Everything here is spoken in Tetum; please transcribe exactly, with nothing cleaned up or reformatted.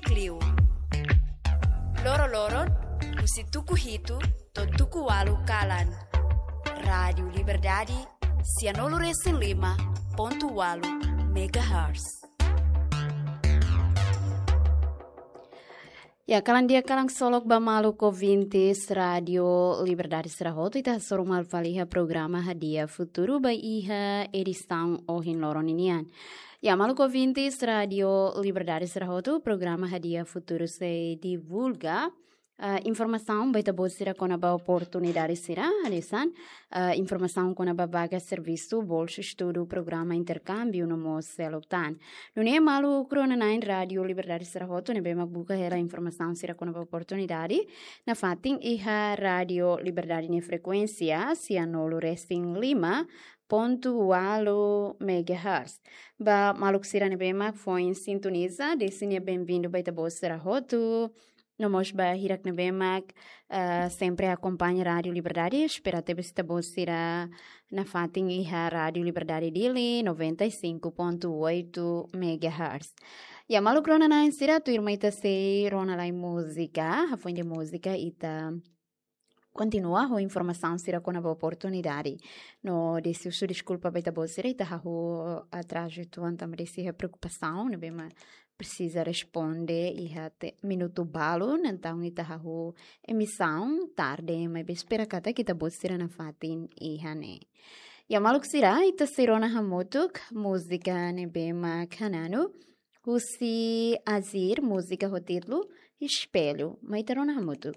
Klio. Loro-loron, husi tuku hitu to'o tuku ualu kalan. Rádiu Liberdade, sianulu-resin-lima pontu ualu megahertz. Ya, kalan di'ak, kalan ksolok ba maluk ouvintes Rádiu Liberdade sira hotu, ita hasoru malu fali iha programa Hadi'a Futuru ba iha edisaun ohin loron ninian. Ya, maluk ouvintes Rádiu Liberdade sira hotu, programa Hadi'a Futuru sei divulga, ah, informasaun ba ita-boot sira kona-ba oportunidade sira, hanesan, ah, informasaun kona-ba vaga servisu, bolsa estudu, programa interkámbiu no mós seluk tan. Nune'e maluk rona-na'in Rádiu Liberdade sira hotu ne'ebé mak buka hela informasaun sira kona-ba oportunidade, nafatin iha Rádiu Liberdade nia frekuénsia, sianulu-resin-lima pontu ualu megahertz. Ba maluk sira ne'ebé mak foin sintoniza, desi nia benvindu ba ita-boot sira hotu. No mós ba hirak ne'ebé mak, eh, sempre akompaña Rádiu Liberdade, espera tebes ita-boot sira nafatin iha Rádiu Liberdade Dili, noventa e cinco ponto oito megahertz. Ya, maluk rona-na'in sira, tuirmai ita sei rona lai múzika, hafoin de múzika ita kontinua ho informasaun sira kona-ba oportunidade. No desi husu deskulpa ba ita-boot sira, ita hahú atrazu uitoan tanba desi iha preokupasaun ne'ebé mak presiza responde iha te-, minutu balun, entaun ita hahú emisaun tarde, maibé espera katak ita-boot sira nafatin iha ne'e. Ya, maluk sira, ita sei rona hamutuk múzika ne'ebé mak hananu husi Azir, múzika ho títulu Espelho. Mai ita rona hamutuk.